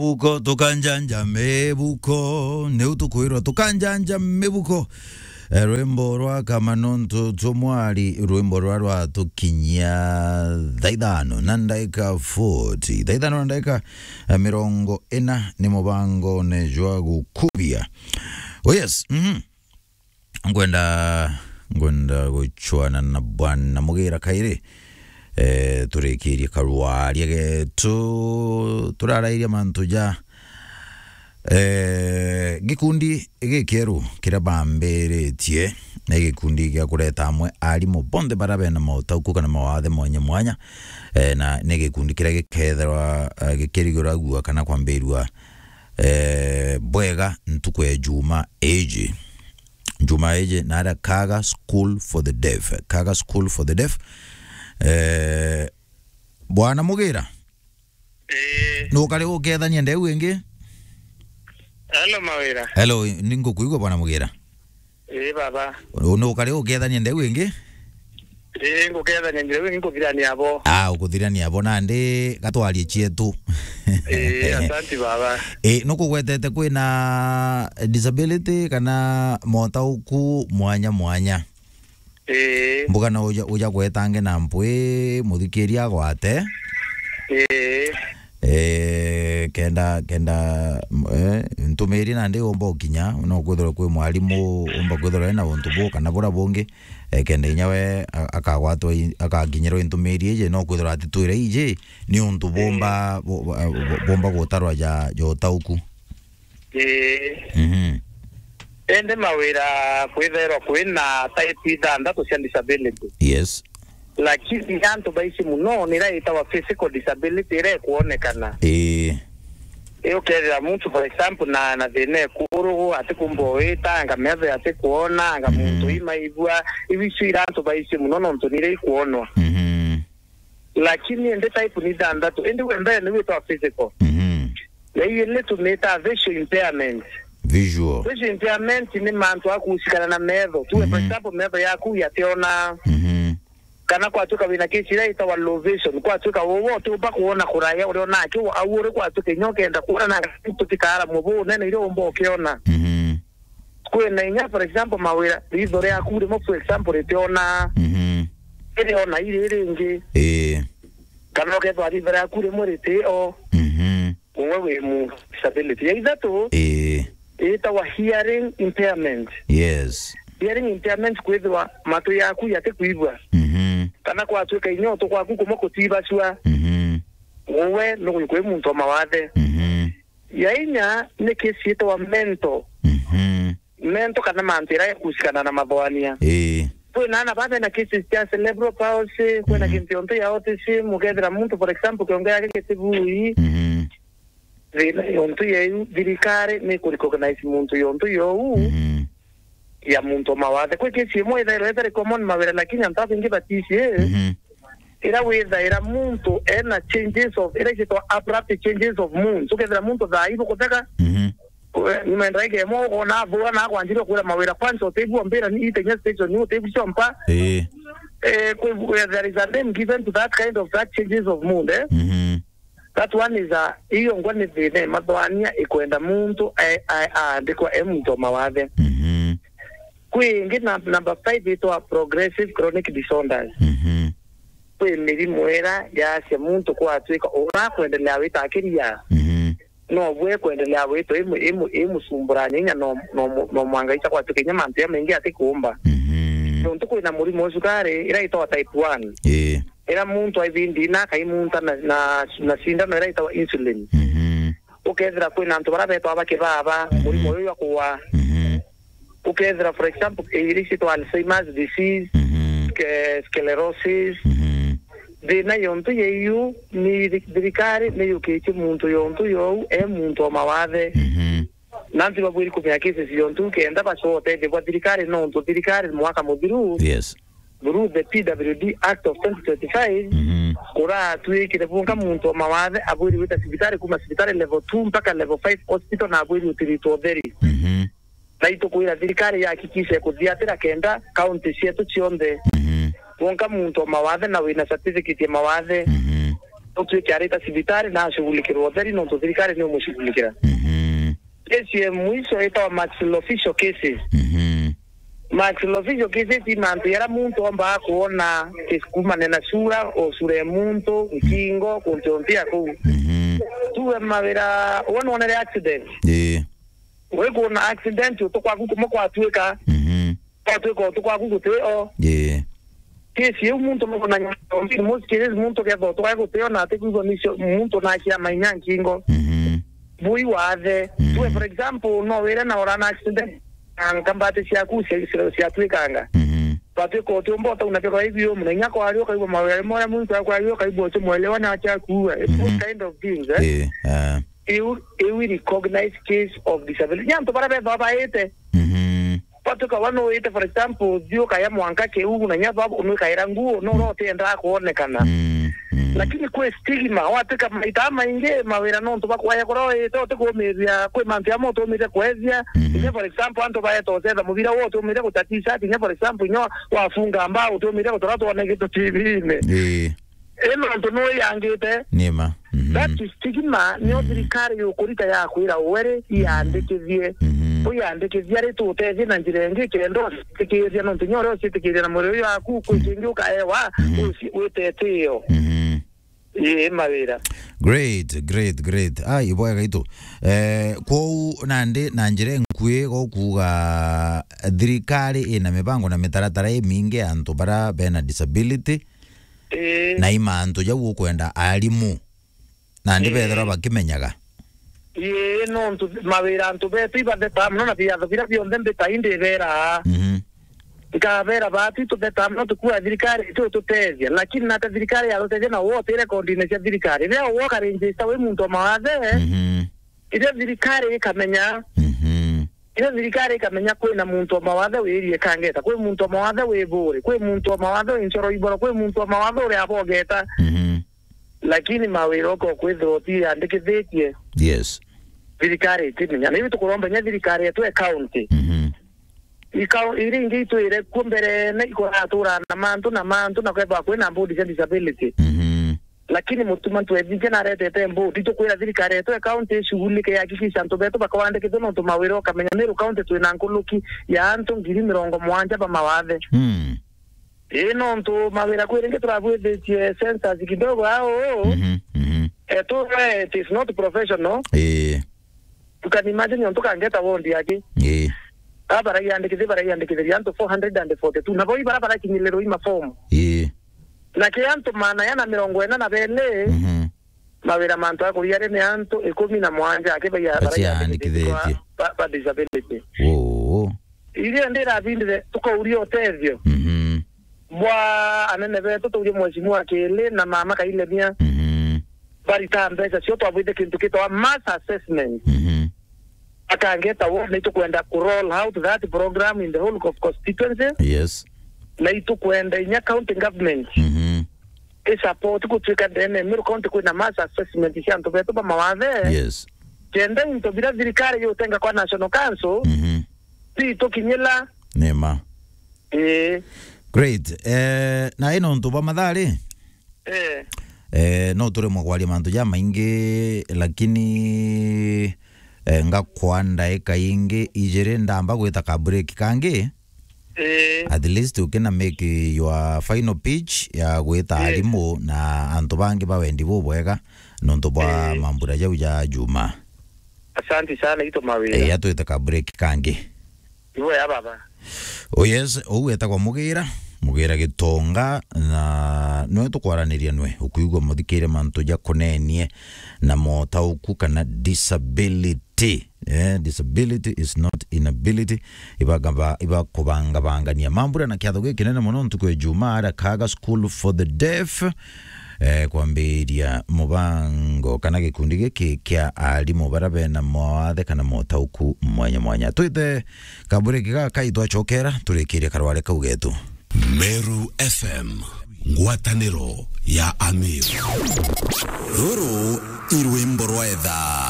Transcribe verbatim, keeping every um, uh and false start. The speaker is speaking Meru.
Buko, tukanjanja mibuko, niu tukwirwa tukanjanja mibuko. Eh, rwimbo rwa Kamanontu Tumwari, rwimbo rwa rwatukinyia thaa ithano na ndaika forty. Thaa ithano na ndaika, eh, mirongo ina ni mubangone jwa gukubia. Oh yes, mhm. Ngwenda, ngwenda guchwana na Bwana Mugira kairi. Eh, turikirie karwaria getu, turarairia mantu ja, eh, gikundi gikieru kiria bambiritie, ni gikundi gia kureta amwe arimu bonthe baria bena mautauku kana mawathe mwanya mwanya. Eh, na ni gikundi kiria gikethirwa, eh, gikirigiragua kana kwambirua, eh, bwega ntuku ya Juma iji. Juma iji naria Kaga School for the Deaf. Kaga School for the Deaf. Eh, Bwana Mugira. Eh. Nukari ukethania ndeu ingi? Hello, Mawira. Hello, ningukuigua Bwana Mugira. Eh, baba. Nukari ukethania ndeu ingi? Eh, ngukethania njira iu, nkuthirania abo. Ah, ukuthirania abo nandi gatwarie cietu. Eh, asanti baba. Eh, nukugwetete kwina disability kana motauku mwanya mwanya? Eh. Mbuga no uja, uja gwetange na mpwi muthikiria agwate. Eh. Eh, kenda, kenda, eh, ntumiri nandi umba ukinya, no kwithirwa kwi mwarimu umba kwithirwa ena untu bu kana bura bungi, eh, kenda inya we a-, akagwatwa i-, akakinyirwa i ntumiri iji, no kwithirwa atitwire iji, ni untu bumba, bu-, bu-, bu-, bumba gutarwa ja, ja utauku. Ii. Mhm. Indi mawira kwithairwa kwina type ithanthatu cia disability. Yes. Lakini antu baici muno ni iria itagwa physical disability iria ikwonekana. Ii. Ii, ukethira muntu, for example, na, na thina ekuru, atikumba wita, anga metho atikwona, anga Mhm. muntu imaigua, iu icio ira antu baici muno nontu ni iria ikwonwa. Mhm. Lakini indi type ni ithanthatu. Indi we mbere ni witwa physical. Mhm. Na iu ni tumita visual impairment. Visual. Visual impairment ni mantu akusikana na metho. Tuwe, for Mhm. example, metho yaku yationa. Mhm. Kana kwatuika wina kesi iria itagwa low vision. Kwatuika wowe utiumba kuona kuraya uria onake, au uri kwatuika inya ukenda kuona na tutikaara mubu unene iria umba ukiona. Mhm. Kwina inya, for example, mawira, ritho riaku rimwe, for example, ritiona, Mhm. ririona iri ringi. Ii. Kana ukethwa ritho riaku rimwe ritio. Mhm. Uwe wi mu disability. Ya ithatu, Ii. itagwa hearing impairment. Yes. Hearing impairment kwithirwa matu yaku yatikuigua. Mhm. Kana kwatuika inya utu kwaku kumwe kutibacua. Mhm. Uwe nugwikwi muntu wa mawathe. Mhm. Ya inya ni kesi itagwa mental. Mhm. Mental kana mantu iria ekusikana na mathwania. Ii. Kwina ana baba na cases cia cerebral palsy, kwina Mhm. kintu yontu ya autism, ukethira muntu, for example, kiongo yake gitibui. Mhm. Thina yontu yeu, thirikari ni ku recognize muntu yontu you. Mhm. Ya muntu wa mawathe. Kwi case imwe ithairwa itari common mawira, lakini antu abaingi batici. Mhm. Ira withaira muntu ena changes of, ira citwa abrupt changes of mood. Ukethira muntu thaa ibu kutheka, Mhm. we, nyuma ya ndagika imwe ukona athua na akwanjire kwira mawira, kwanza utibua mbira ni itenya station, ni utibua chompa. Ii. Eh, kwi, there is a name given to that kind of, that changes of mood, eh? Mhm. That one is a, iyo ngwa ni thina ya mathwania ikwenda muntu a-, a-, aandikwa e muntu wa mawathe. Mhm. Kwi ingi na, number five itwa progressive chronic disorders. Mhm. Kwi mirimu ira yacia muntu kwatuika urakwendelea witakiria. Mhm. No bwe kwendelea witwa imu-, imu-, imusumburania inya no, no, no mwanga ica kwatuika inya mantu ya maingi atikuumba. Mhm. Nontu kwina murimu wa cukari ira itwa type one. Ii. Ira muntu aibindi na akaimunta na, na, na cindano ira itagwa insulin. Mhm. Ukethira kwina antu bara betwa bakibaba, Mhm. murimo uyu jwa kuwa. Mhm. Ukethira, for example, iri citwa Alzheimer's disease, Mhm. sce-, sclerosis. Mhm. Thina yontu yeiu ni thi-, thirikari ni yukitie muntu yontu you e muntu o mawathe. Mhm. Nanti babwiri kumenya cases yontu kenda bacoa utethio bwa thirikari, nontu thirikari mwaka muthiru, Yes. through the P W D Act of twenty twenty-five, Mhm. kuratwikire bunga muntu o mawathe abwiri gwita cibitari, kuma cibitari level two mpaka level five hospital, na abwiri utiritwa utheri. Mhm. Na itukwira thirikari yahakikishe kuthiatira kenda county cietu cionthe. Mhm. Wonka muntu o mawathe na wina certificate ya mawathe, Mhm. Utwike arita cibitari na ashughulikirwa utheri nontu thirikari ni umushughulikira. Mhm. Kesi ya mwisho itawa maxillofacial cases. Mhm. Maxillofacial cases ni mantu yara muntu omba kuona kis-, kumane na sura, o sura ya muntu, nkingo, kuntu nthi ya kuu. Mhm. Tuwe mawira, wona wonere accident. Ii. Wi kuona accident, utu kwaku kumwe kwatwika. Mhm. Kwatwika utu kwaku gutio. Ii. Kesi iu muntu no na nyombi, most cases muntu ketha utu kwaku gutio na ati kwigua nicio muntu na acia mainya nkingo. Mhm. Bui wathe. Mhm. Tuwe, for example, no wire na ora na accident, na nkambati ciaku cia-, cia-, ciatwikanga. Mhm. Batwika utiumba utauna kiro ibi umu, na inya kwari ukaigua mawira rimwe uria muntu akwari ukaigua ucio mwelewa na acia kuua. It's those kind of things, eh? Ii, ah. Iu, iu i recognize case of disability. Ni antu baria bethawa baite. Mhm. Batuka wa no wite, for example, thiu kaya mwanka kiu, na nya baba unwikaira nguo, no ro tienda kuonekana. Mm, mm. Lakini kwi stigma, watika maita maingi, mawira nontu bakwaya kura wite, utikumiria, kwi mantu amwe utumiria kwethia. Mhm. Inya, for example, antu baeta ucetha mubira wo utumiria gutatisha, inya, for example, inya wafunga mbao utumiria gutora twone gitu T V-ini. Ii. Ii nontu nuyangite. Ni ma. Mhm. That is stigma, nio thirikari yukurita ya kwira weri iyandikithie. Mhm. Uyandikithia ri tutethie na njira ingi kenda ucitikiria nontu nyo uria ucitikiria na mwiri uyu waku kwi kingi ukaewa. Mhm. Uci-, witetio. Mhm. Ii mawira. Great, great, great. Ai, ibwega itu. Eh, kwou nandi na njira inkui gukuga thirikari ina mibango na mitaratara imingi ya antu bara bena disability. Ii. Na i mantu jau ukwenda arimu nandi bethirwa bakimenyaga. Ii, nontu mawira antu betu ibatheta muno na biatho biria bionthe mbita indibera. Mhm. Nkabera bati tutheta muno tukua thirikari itu tutethia, lakini nate thirikari ya tutethia na wote rekondine cia thirikari. Riria woka register wi muntu wa mawathe, mhm, iria thirikari ikamenya. Mhm. Iria thirikari ikamenya kwina muntu wa mawathe wirie kangeta, kwi muntu wa mawathe wi buri, kwi muntu wa mawathe wi ncoro iboro, kwi muntu wa mawathe uri abogeta. Mhm. Lakini mawira uko kwithirwa utiandikithitie. Yes. Thirikari itimenya. Na iu tukuromba nya thirikari yetu ya county. Mhm. Ikao-, iria ingi itwire kuo mbere ne ikuratura na mantu na mantu na kwethwa kwina bodi cia disability. Mhm. Lakini Mutuma Ntwethinge naretete mbudi, tukwira thirikari yetu ya county ishughulike, ihakikisha antu betu bakawandikithua, nontu mawira ukamenya Meru County twina nkuluki ya antu ngiri mirongo mugwanja ba mawathe. Mm. Ii, nontu mawira kwi ringi turabwithitie census kidogo au. Mhm, mhm. Eh, tu, eh, it is not professional. Ii. You can imagine, ontu kangeta wondi aki. Ii. Aba baraiandikithia, baraiandikithiria antu four hundred and forty-two. Na boi bara barakinyilirwa i mafomu. Ii. Na ki antu maana yana mirongo ina na beli, mhm, mawira mantu akuriari ni antu ikumi na mwanja aki baia-, baraiandikithitie ba, ba disability. Oo. Iria ndirabindire tukauria utethio. Mhm. Bwa anene betu, tuurie Mheshimiwa Kili na Mama Kailemia. Mhm. Barita mbeca cio twabwite kintu kitwa mass assessment. Mhm. Akangeta wo, na itukwenda ku roll out that program in the whole of constituency. Yes. Na itukwenda inya county government, mhm, i support gutwika ndene Meru County kwina mass assessment cia antu betu ba mawathe. Yes. Kenda into bira thirikari yutenga kwa National Council, mhm, ti tukinyila. Ni ma. Ii. Great. Eh, na ino ntu bwa mathaa ri? Eh. Eh, no turemwe kwaria mantu jamaingi, lakini, eh, ngakwa ndaika ingi ijiri ndamba gwita ka break kangi. Eh. At least ukina make your final pitch ya gwita, eh, arimu na antu bangi ba wendi bubwega nontu bwa, eh, mambura jau ja juma. Asante sana, ito mawira. Eh, atwite ka break kangi. Ibo ya baba. Oh yes, ou etagwa Mugira, Mugira Gitonga, na nwe tukwaraniria nwe, ukwigua muthikire mantu ja kunenie na motauku kana disability. Eh, disability is not inability. Ibagaba-, ibakubangabangania. Mambura na kiatho gikinene muno ntuku ya Jumaa aria Kaga School for the Deaf. Eh, kwambiria mubango kana gikundi giki kia arimu bara bena mawathe kana motauku mwanya mwanya. Twite kabureki gaka itwacokera turikirie karware kau getu. Meru F M, ngwataniro ya Amiru. Ruru i rwimbo rwa etha.